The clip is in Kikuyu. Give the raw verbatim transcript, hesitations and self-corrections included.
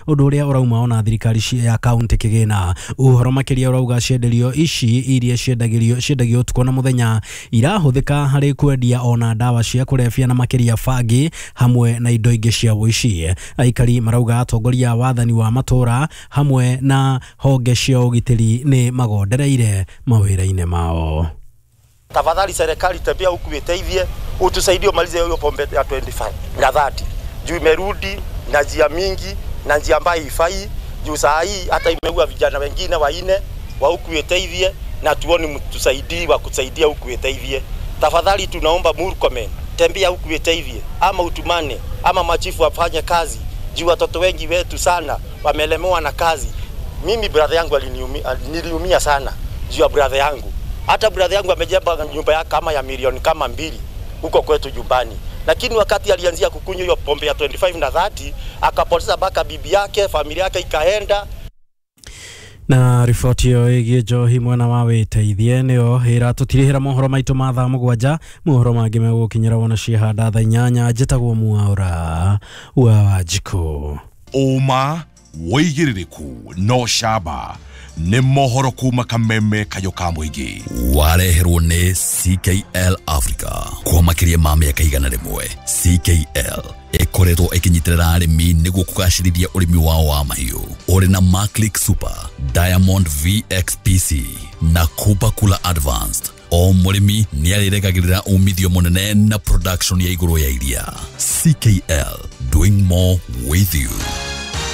Ũndũ ũrĩa ũrauma ona thirikari ya kaunti kĩgĩna. Ũhoro makĩria ũrauga cienderio ici iria ciendagĩrio ciendagio ũtukũ na mũthenya irahũthĩka harĩ kwendia ona ndawa cia kũrebia na makĩria bangi hamwe na indo ingĩ cia ũici. Aikari marauga atongoria a wathani wa matũra hamwe na honge cia ũgitĩri nĩ magondereire mawĩra-inĩ mao. Tafadhali serikali tembea huku iteithie, utusaidie umalize hiyo pombe ya ishirini na tano na thelathini. Juu imerudi na njia mingi na njia ambayo haifai. Juu saa hii hata imeua vijana wengine wanne wa huku iteithie, na tuone mtusaidie wa kusaidia huku iteithie. Tafadhali tunaomba Murkomen, tembea huku iteithie, ama utumane ama machifu wafanye kazi. Juu watoto wengi wetu sana wamelemewa na kazi. Mimi brother yangu aliniumia, niliumia sana juu ya brother yangu. Hata brother yangu amejenga nyumba yake kama ya milioni kama mbili huko kwetu nyumbani. Lakini wakati alianzia kukunywa hiyo pombe ya ishirini na tano na thelathini, akapoteza baka bibi yake, familia yake ikaenda. Na riboti ĩyo ĩgiĩ njohi mwena wa wĩteithie nĩyo ĩratũtirihĩra mohoro maitũ ma thaa mũgwanja. Mohoro mangĩ megũgũkinyĩra wona ciahanda thaa inyanya. Njĩtagwo Mwaura wa Wanjikũ. Ũma wĩigĩrĩrĩku no camba nĩ mohoro kuma kameme kayo ka mũingĩ. Wareherwo nĩ C K L Africa kwa makĩria ma mĩaka igana rĩmwe. C K L ĩkoretwo ĩkĩnyitĩrĩra arĩmi nĩguo kũgacĩrithia ũrĩmi wao wa mahiũ. Ũrĩ na Maclick Super, Diamond V X P C na Kupa Kula Advanced. O mũrĩmi nĩarĩregagĩrĩra umithio mũnene na production ya igũrũ ya iria. C K L, doing more with you.